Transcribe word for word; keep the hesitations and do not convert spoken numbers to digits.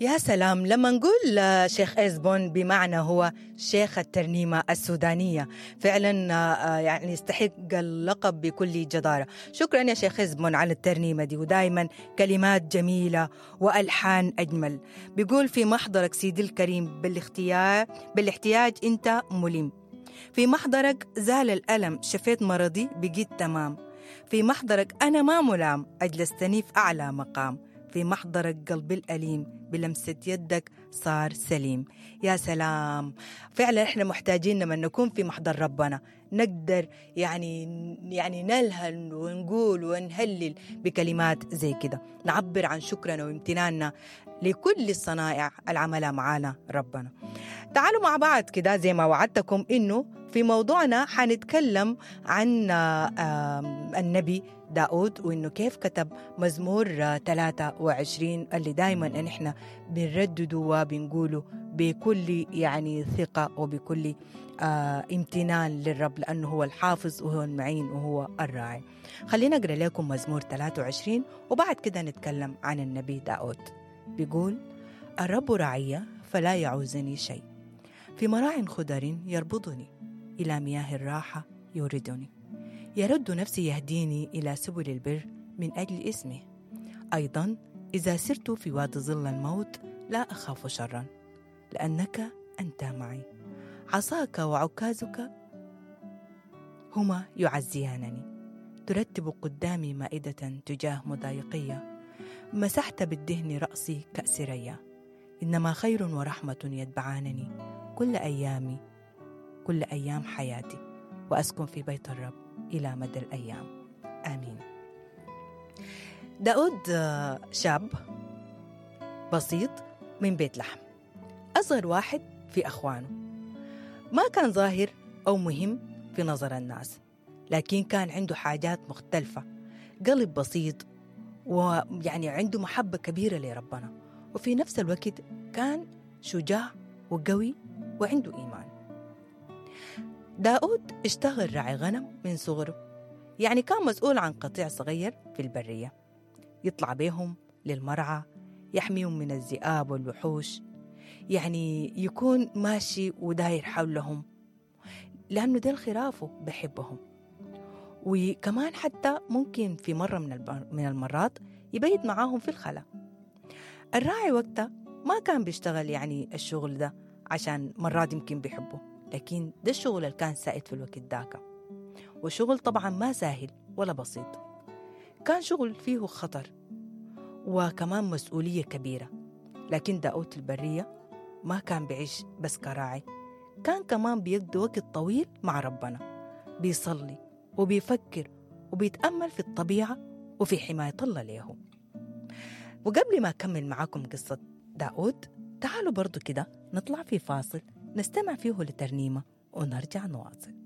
يا سلام، لما نقول شيخ إزبون بمعنى هو شيخ الترنيمة السودانية، فعلا يعني يستحق اللقب بكل جدارة. شكرا يا شيخ إزبون على الترنيمة دي، ودايما كلمات جميلة وألحان أجمل. بيقول في محضرك سيدي الكريم بالاختيار بالاحتياج أنت ملم، في محضرك زال الألم، شفيت مرضي بقيت تمام، في محضرك أنا ما ملام، أجلستني في أعلى مقام، في محضرك قلبي الأليم بلمسة يدك صار سليم. يا سلام، فعلا احنا محتاجين لما نكون في محضر ربنا نقدر يعني يعني نلهل ونقول ونهلل بكلمات زي كده، نعبر عن شكرنا وامتناننا لكل الصنائع العملها معانا ربنا. تعالوا مع بعض كده زي ما وعدتكم إنه في موضوعنا حنتكلم عن النبي داود، وإنه كيف كتب مزمور ثلاثة وعشرين اللي دايما إن إحنا بنردده وبنقوله بكل يعني ثقة وبكل آه امتنان للرب، لأنه هو الحافظ وهو المعين وهو الراعي. خلينا أقرأ لكم مزمور ثلاثة وعشرين وبعد كده نتكلم عن النبي داود. بيقول: الرب راعي فلا يعوزني شيء، في مراع خضر يربضني، إلى مياه الراحة يوردني، يرد نفسي يهديني إلى سبل البر من أجل اسمه. أيضا إذا سرت في وادي ظل الموت لا أخاف شرا، لأنك أنت معي، عصاك وعكازك هما يعزيانني. ترتب قدامي مائدة تجاه مضايقية، مسحت بالدهن رأسي كأس ريا. إنما خير ورحمة يتبعانني كل أيامي، كل أيام حياتي، وأسكن في بيت الرب إلى مدى الأيام. آمين. داود شاب بسيط من بيت لحم، أصغر واحد في أخوانه، ما كان ظاهر أو مهم في نظر الناس، لكن كان عنده حاجات مختلفة، قلب بسيط، ويعني عنده محبة كبيرة لربنا، وفي نفس الوقت كان شجاع وقوي وعنده إيمان. داود اشتغل راعي غنم من صغره، يعني كان مسؤول عن قطيع صغير في البرية، يطلع بيهم للمرعى، يحميهم من الذئاب والوحوش، يعني يكون ماشي وداير حولهم لأنه ده خرافه بحبهم. وكمان حتى ممكن في مرة من المرات يبيت معاهم في الخلا. الراعي وقتها ما كان بيشتغل يعني الشغل ده عشان مرات يمكن بيحبه، لكن ده الشغل اللي كان سائد في الوقت داك، وشغل طبعا ما سهل ولا بسيط، كان شغل فيه خطر وكمان مسؤولية كبيرة. لكن داود البرية ما كان بيعيش بس كراعي، كان كمان بيقضي وقت طويل مع ربنا، بيصلي وبيفكر وبيتأمل في الطبيعة وفي حماية الله له. وقبل ما أكمل معاكم قصة داود، تعالوا برضو كده نطلع في فاصل نستمع فيه لترنيمة ونرجع نواصل.